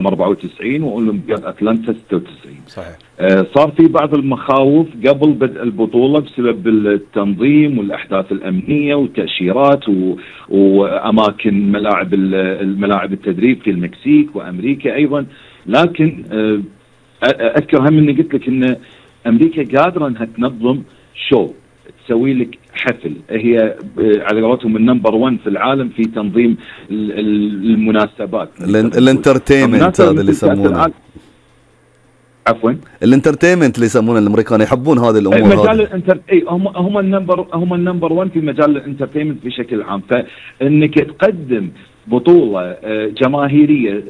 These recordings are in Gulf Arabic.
94 واولمبياد اتلانتا 96. صحيح. صار في بعض المخاوف قبل بدء البطوله بسبب التنظيم والاحداث الامنيه والتاشيرات واماكن الملاعب التدريب في المكسيك وامريكا ايضا، لكن اذكر هم اني قلت لك ان امريكا قادره انها تنظم شو، تسوي لك حفل، هي على قولتهم النمبر 1 في العالم في تنظيم المناسبات، الانترتينمنت هذا اللي يسمونه، عفوا الانترتينمنت اللي يسمونه الامريكان، يحبون هذه الامور. مجال هم النمبر 1 في مجال الانترتينمنت بشكل عام، فانك تقدم بطوله جماهيريه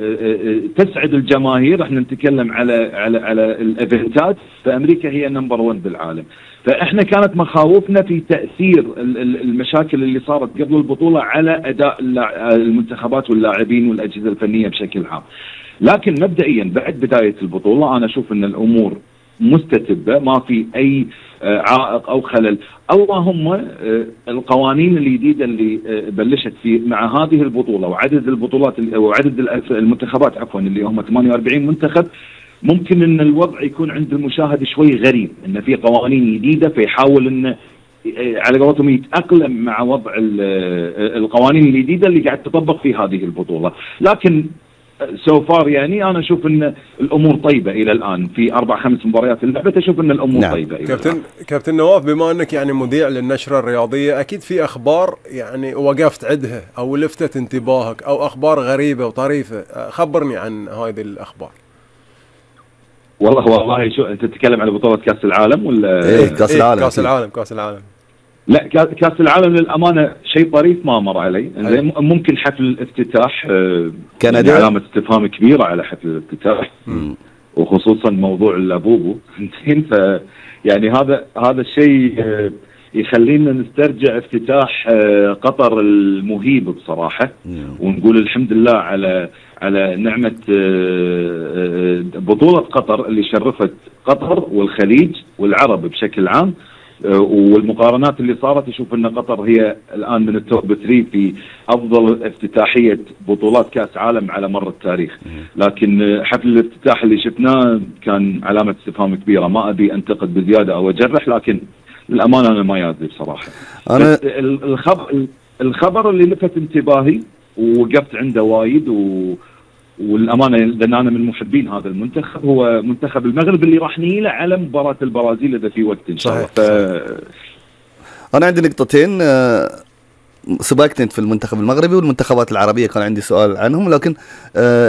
تسعد الجماهير، احنا نتكلم على الايفنتات، فامريكا هي نمبر 1 بالعالم. فاحنا كانت مخاوفنا في تاثير المشاكل اللي صارت قبل البطوله على اداء المنتخبات واللاعبين والاجهزه الفنيه بشكل عام. لكن مبدئيا بعد بدايه البطوله انا اشوف ان الامور مستتبه، ما في اي عائق او خلل. اللهم القوانين الجديده اللي بلشت في مع هذه البطوله وعدد البطولات وعدد المنتخبات عفوا اللي هم 48 منتخب، ممكن ان الوضع يكون عند المشاهد شوي غريب، ان في قوانين جديده فيحاول انه على قولتهم يتاقلم مع وضع القوانين الجديده اللي قاعد تطبق في هذه البطوله. لكن سو فار يعني انا اشوف ان الامور طيبه الى الان، في 4-5 مباريات اللعبه اشوف ان الامور طيبه إلى الآن. كابتن نواف، بما انك يعني مذيع للنشره الرياضيه، اكيد في اخبار يعني وقفت عندها او لفتت انتباهك او اخبار غريبه وطريفه، خبرني عن هذه الاخبار. والله شو انت تتكلم على بطوله كاس العالم ولا كاس العالم؟ كاس العالم. لا كاس العالم للامانه شيء طريف ما مر علي. ممكن حفل الافتتاح كندا علامه استفهام كبيره على حفل الافتتاح، وخصوصا موضوع اللابوبو ف يعني هذا الشيء يخلينا نسترجع افتتاح قطر المهيب بصراحه، ونقول الحمد لله على نعمه بطوله قطر اللي شرفت قطر والخليج والعرب بشكل عام. والمقارنات اللي صارت اشوف ان قطر هي الان من التوب 3 في افضل افتتاحيه بطولات كاس عالم على مر التاريخ. لكن حفل الافتتاح اللي شفناه كان علامه استفهام كبيره، ما ابي انتقد بزياده او اجرح، لكن للامانه انا ما يادري بصراحه. أنا الخبر اللي لفت انتباهي ووقفت عنده وايد والامانه لان انا من محبين هذا المنتخب، هو منتخب المغرب اللي راح نيله على مباراه البرازيل اذا في وقت ان شاء الله. انا عندي نقطتين سبقت انت في المنتخب المغربي والمنتخبات العربيه، كان عندي سؤال عنهم، لكن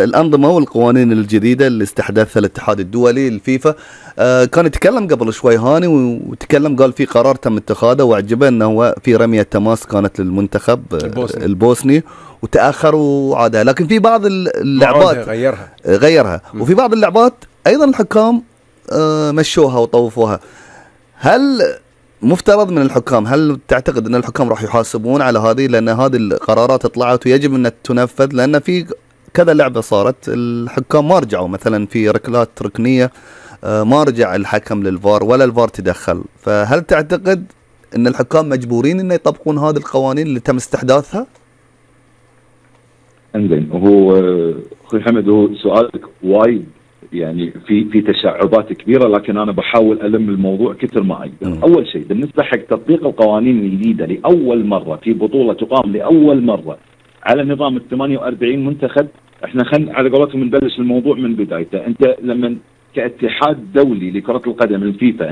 الانظمه والقوانين الجديده اللي استحدثها الاتحاد الدولي الفيفا، كان يتكلم قبل شوي هاني وتكلم قال في قرار تم اتخاذه واعجبه انه هو في رميه تماس كانت للمنتخب البوسني وتاخروا عادها، لكن في بعض اللعبات غيرها وفي بعض اللعبات ايضا الحكام مشوها وطوفوها. هل مفترض من الحكام، هل تعتقد ان الحكام راح يحاسبون على هذه، لان هذه القرارات طلعت ويجب ان تنفذ، لان في كذا لعبه صارت الحكام ما رجعوا، مثلا في ركلات ركنيه ما رجع الحكم للفار ولا الفار تدخل، فهل تعتقد ان الحكام مجبورين ان يطبقون هذه القوانين اللي تم استحداثها؟ انزين، هو اخوي حمد هو سؤالك وايد يعني في تشعبات كبيره، لكن انا بحاول الم الموضوع كثر ما اقدر. اول شيء بالنسبه حق تطبيق القوانين الجديده لاول مره في بطوله تقام لاول مره على نظام ال 48 منتخب، احنا على قولتهم نبلش الموضوع من بدايته. انت لما كاتحاد دولي لكره القدم الفيفا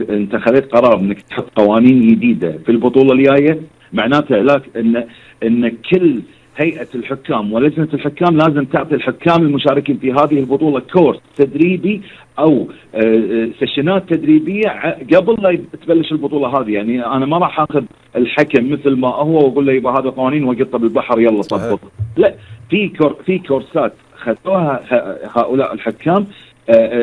انت خذيت قرار انك تحط قوانين جديده في البطوله الجايه، معناته ان كل هيئة الحكام ولجنة الحكام لازم تعطي الحكام المشاركين في هذه البطولة كورس تدريبي أو سيشنات تدريبية قبل لا تبلش البطولة هذه. يعني أنا ما راح أخذ الحكم مثل ما هو وأقول له يبقى هذا قوانين وقطة بالبحر يلا طبق. لا، في كورسات خذوها هؤلاء الحكام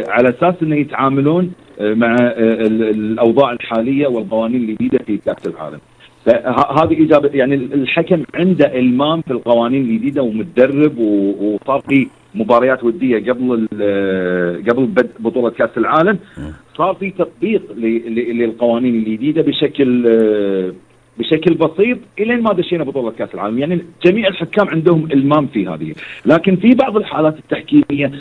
على أساس أنه يتعاملون مع الأوضاع الحالية والقوانين الجديدة في كأس العالم. فهذه إجابة، يعني الحكم عنده إلمام في القوانين الجديدة ومتدرب، وصار في مباريات ودية قبل بدء بطولة كأس العالم، صار في تطبيق للقوانين الجديدة بشكل بسيط الين ما دشينا بطوله كاس العالم. يعني جميع الحكام عندهم المام في هذه، لكن في بعض الحالات التحكيميه